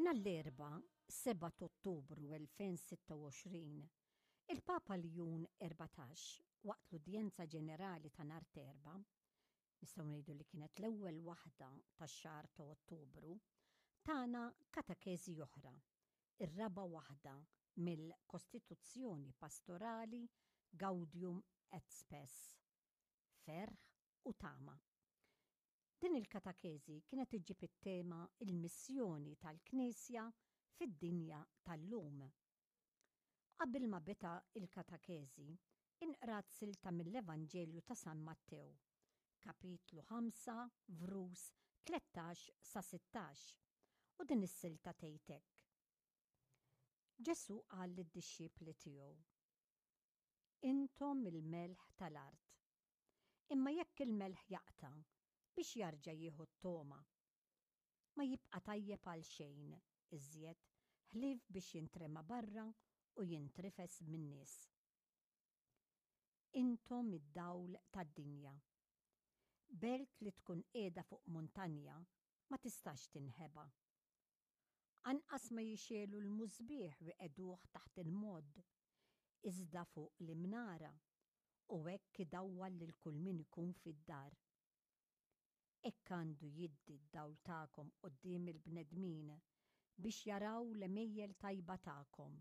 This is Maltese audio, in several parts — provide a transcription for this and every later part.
Nhar l-Erbgħa, 7 t'Ottubru 2026, il-Papa Ljun 14, waqt l-Udjenza Ġenerali ta' nhar t'Erbgħa, nistgħu ngħidu li kienet l-ewwel waħda tax-xahar ta' Ottubru, tana katekeżi oħra, ir-raba' waħda mill-Kostituzzjoni Pastorali Gaudium et Spes, Ferħ u Tama. Din il-katakeżi kienet iġġib it-tema Il-Missjoni tal-Knisja fid-Dinja tal-Lum. Qabel ma beda l-katakeżi, inqrat silta mill-Evanġelju ta' San Mattew, kapitlu 5, vrus 13 sa 16, u din is-silta tgħid hekk. Ġesù qal lid-dixxipli tiegħu, Intom il-melħ tal-art. Imma jekk il-melħ jaqta', biex jarġa' jieħu t-togħma? Ma jibqa' tajjeb għal xejn iżjed ħlief biex jintrema barra u jintrifes min-nies. Intom id-dawl tad-dinja. Belt li tkun qiegħda fuq muntanja ma tistax tinħeba. Anqas ma jixegħlu l-musbieħ u jqegħduh taħt il-modd, iżda fuq l-imnara, u hekk idawwal lil kull min ikun fid-dar. Hekk għandu jiddi d-dawl tagħkom quddiem il-bnedmin, biex jaraw l-għemejjel tajba tagħkom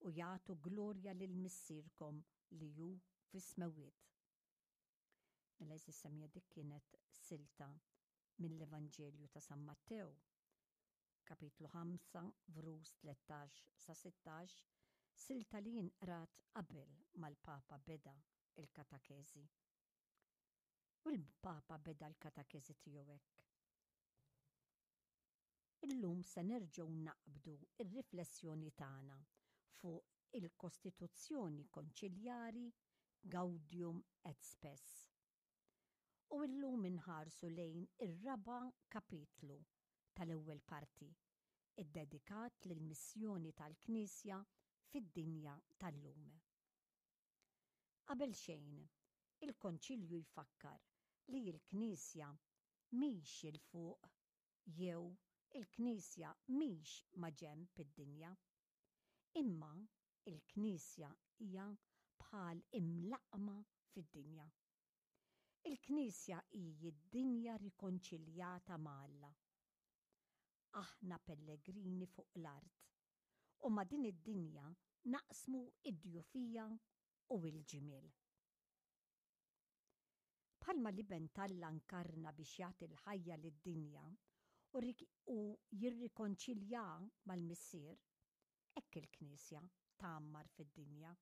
u jagħtu glorja lil Missierkom li hu fis-smewwiet. Mela għeżież semmiegħa dik kienet silta mill-Evanġelju ta' San Mattew, kapitlu 5, vrus 13 sa 16, silta li inqrat qabel mal-Papa beda l-katakeżi. U l-Papa beda l-katakeżi tiegħu hekk. Illum se nerġgħu naqbdu r-riflessjoni tagħna fuq il-Kostituzzjoni Konċiljari Gaudium et Spes. U illum inħarsu lejn ir-raba' kapitlu tal-ewwel parti, iddedikat lill-missjoni tal-Knisja fid-dinja tal-lum. Qabel xejn, il-Konċilju jfakkar li l-Knisja mhix 'il fuq jew il-Knisja mhix maġenb id-dinja. Imma l-Knisja hija bħal imlaqqma fid-dinja. Il-Knisja hi d-dinja rikonċiljata ma' Alla. Aħna pellegrini fuq l-art u ma' din id-dinja naqsmu d-djufija u l-ġmiel. Bħalma l-Iben t'Alla nkarna biex jagħti l-ħajja lid-dinja u jirrikonċiljaha mal-Missier, hekk il-Knisja tgħammar fid-dinja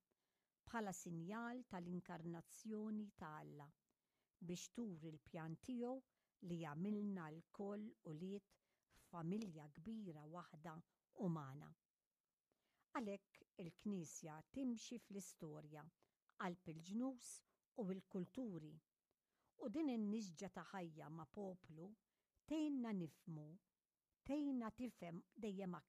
bħala sinjal tal-inkarnazzjoni ta' Alla biex turi l-pjan tiegħu li jagħmilna lkoll ulied f'familja kbira waħda umana. Għalhekk il-Knisja timxi fl-istorja qalb il-ġnus u l-kulturi, u din in-nisġa ta' ħajja ma' poplu tgħinna nifhmu, tgħinna tifhem dejjem aktar.